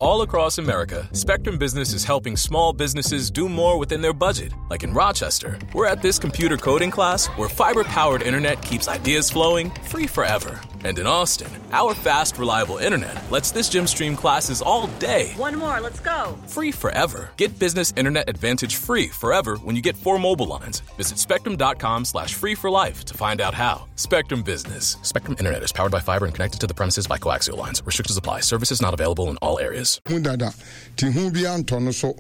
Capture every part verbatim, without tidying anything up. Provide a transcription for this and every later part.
All across America, Spectrum Business is helping small businesses do more within their budget. Like in Rochester, we're at this computer coding class where fiber powered internet keeps ideas flowing free forever. And in Austin, our fast, reliable internet lets this gym stream classes all day. One more, let's go. Free forever. Get business internet advantage free forever when you get four mobile lines. Visit spectrum.com slash free for life to find out how. Spectrum Business. Spectrum Internet is powered by fiber and connected to the premises by coaxial lines. Restrictions apply. Services not available in all areas. Hu dada nti hu bi antɔ no so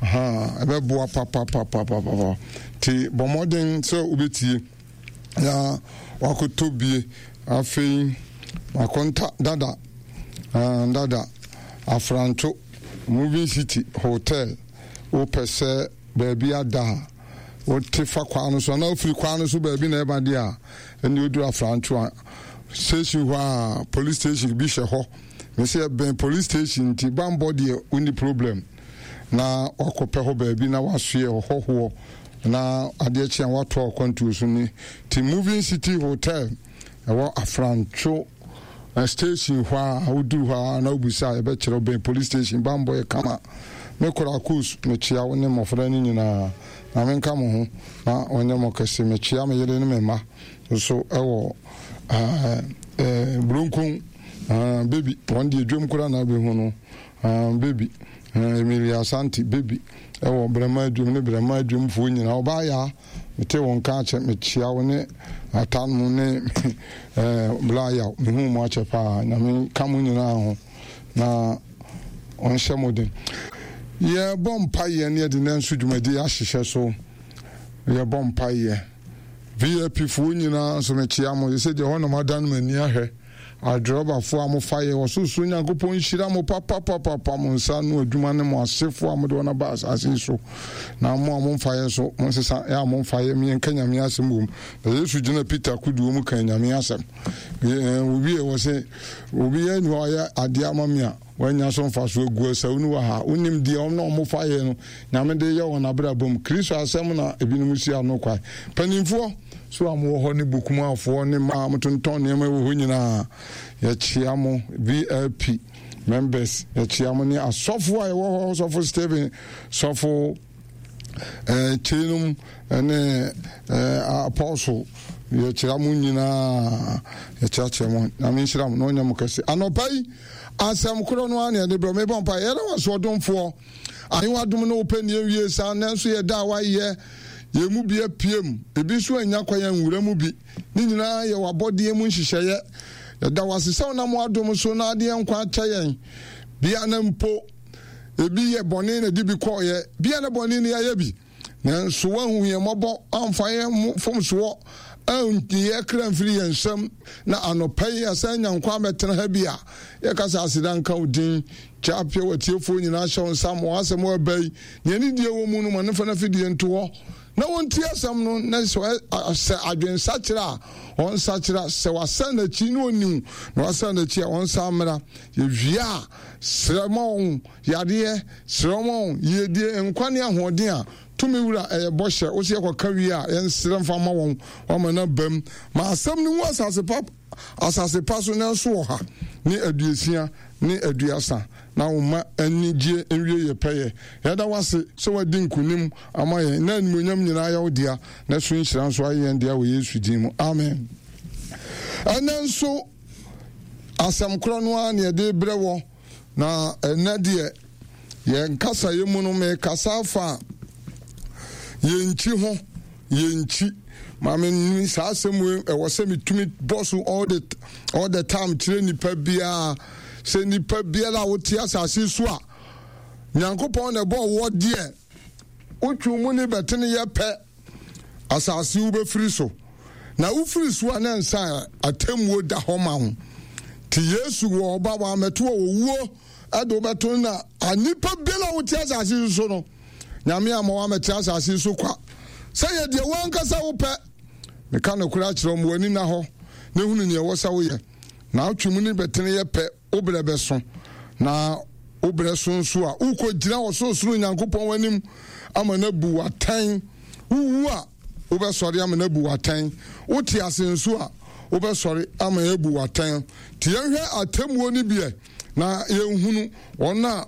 ɛbɛboa papapapapapa nti bɔ mmɔden sɛ wobɛtie na wakɔtɔ bie. Afei makonta dada dada Afranto Moving City Hotel. Wopɛ sɛ baabi ada a wote fa kwan no so anaa wofiri kwan no so baabi na ɛba deɛ a, ɛne woduru Afranto a station hɔ a, police station bi hyɛ hɔ. Mesɛ ɛbɛn police station nti bambɔ deɛ wonni problem na wakɔpɛ hɔ baabi na wasoɛ hɔhoɔ na adeɛ kye a watoa akwantuo so ni. Nti Moving City Hotel ɛwɔ Afrantwo station hɔ a, woduru hɔ a na wobisa a, yɛbɛkyerɛ wo. Bɛn police station, bambɔ yɛ kama. Me kora Kus, mekyia wo ne mmɔfra no nyinaa na menka mo ho na ɔnyɛ mo kɛse. Mekyia me yere ne me mma nso ɛwɔ Buronkon Baby, wɔn deɛ dwom kora na abɛhu no. Baby Emilia Asante Baby ɛwɔ Brɛma adwom ne Brɛma adwomfoɔ nyinaa. Ɔbaa yaa mete wɔn nka akyɛ, mekyia wo ne atanom ne bla yaw. Mehu mu akyɛ paa. Nyame ka mo nyinaa ho na ɔnhyɛ mo den. Yɛbɔ mpayɛ ne yɛde nanso dwumadi ahyehyɛ so. Yɛbɔ mpayɛ. V I P foɔ nyinaa nso mekyia mo sɛ deɛ hɔnom adan m'ani ahwɛ adrɔbafoɔ a mofa yɛ ɔsorosoro Nyankopɔn nhyira mo papapapapa, mo nsa no adwuma ne mo asefoɔ a mode wɔn aba asase yi so. Na mo a momfa yɛ nso, monsesa yɛ a momfa yɛ mmiɛnka Nyame asɛm wɔ mu. Na Yesu gyina Peter kodoɔ mu kan Nyame asɛm. Obi wɔ sɛ obi yɛ ni hɔ ɔyɛ adeɛ ama me a wanya so mfa so agu asawu no wɔ ha. Wonim deɛ ɔmo na ɔmo fa yɛ no Nyame de yɛ wɔn abrabɔ mu. Kristo asɛm na ebinom si ano kwae. Mpanimfoɔ so a mowɔ hɔ ne bukumafoɔ ne mmaa a motontɔn nneɛma wɔ hɔ nyinaa, yɛkyia mo. V I P members, yɛkyia mo ne asɔfo a yɛwɔ hɔ, Sɔfo Stephen, Sɔfo eh, Kyeinom ne eh, Apostle, yɛkyia mo nyinaa, yɛkyerɛkyerɛ mo. Nyame nhyira mo na ɔnyɛ mo kɛse. Anɔpa yi asɛm korɔ no a ne yɛde brɛ. Mebɔ mpa yɛda wasoɔdomfoɔ ahewa dom ne wopɛ ne yɛnwie saa. Nanso yɛda a wayɛ yɛn mu bi apiem, ebi nso anya kwan nwura mu bi. Ne nyinaa yɛ wabɔdeɛ mu nhyehyɛeɛ. Yɛda wase sɛ wonam w'adom so na adeɛ nkwa akyɛ yɛn bia na mpo ebi yɛ bɔne na de bi kɔɔyɛ bia na bɔne no yɛayɛ bi, nanso woahu yɛn mmɔbɔ amfa yɛn fomsoɔ anyi kra mfiri yɛn nsam. Na anɔpa yi yɛsan nya nkwa abɛtena ha bi a, yɛka sɛ aseda nka wo din. Kyɛ apia watiefoɔ nyinaa hyɛ wo nsa ma w'asɛm aba yi nea ne die wɔ mu no ma ne fa no afidie nto hɔ na wɔntie asɛm no, na sɛ sɛ adwensakyerɛ a ɔnsakyerɛ, sɛ wasan n'akyi na ɔniw na wasan n'akyi a, ɔnsan mmra. Yɛwie a, srɛ ma wɔn yadeɛ, srɛ ma wɔn yiedie, nkwa ne ahoɔden a tumi wura ɛyɛ bɔhyɛ wo sɛ yɛkɔka wie a, yɛnsrɛ mfa ma wɔn wama no abam ma asɛm no hu asase pa asase pa so nanso wɔ ha ne aduosia ne aduasa na wo ma anigye nwie yɛ pɛyɛ. Yɛda wase sɛ wadi nkonim ama yɛn na animonyam nyinaa yɛ wo dea na so nhyira nso ayɛ yɛn dea wɔ Yesu din mu, amen. Ɛnɛ nso asɛm korɔ no ara ne yɛde brɛ wɔ. Na ɛnɛ deɛ yɛn kasayɛ mu no, mekasa afa yɛn ho. Yɛn nkyi maame ni saa asɛm wei ɛwɔ sɛ metumi bɔ so all the all the time kyerɛ nipa biara sɛ nipa biara a wote asase so a Nyankopɔn na ɛbɔ wɔ deɛ wotwi mu ne bɛtene yɛ pɛ asase wobɛfiri so na wofiri so a, ne nsa atemmuo da hɔ ma wo. Nti Yesu wɔ ɔba wɔ amɛto wɔ owuo ɛde wobɛto na anipa biara a wote asase so no, Nyame ama woamɛte asase so kwa sɛ yɛ deɛ woankasa wopɛ. Meka nokorɛ akyerɛ wo, ma w'ani na hɔ na hunu neɛ ɛwɔ sɛ woyɛ na wotwe mu ne bɛtene yɛ pɛ. Wo berɛ bɛso na wo berɛ so nso a, wokɔgyina Ɔsorosoro Nyankopɔn w'anim ama no abu w'atɛn. Wowu a, wobɛsɔre ama no abu w'atɛn. Wote ase nso a, wobɛsɔre ama yɛabu w'atɛn. Nti yɛnhwɛ atemmuo no biɛ na yɛnhunu wɔn a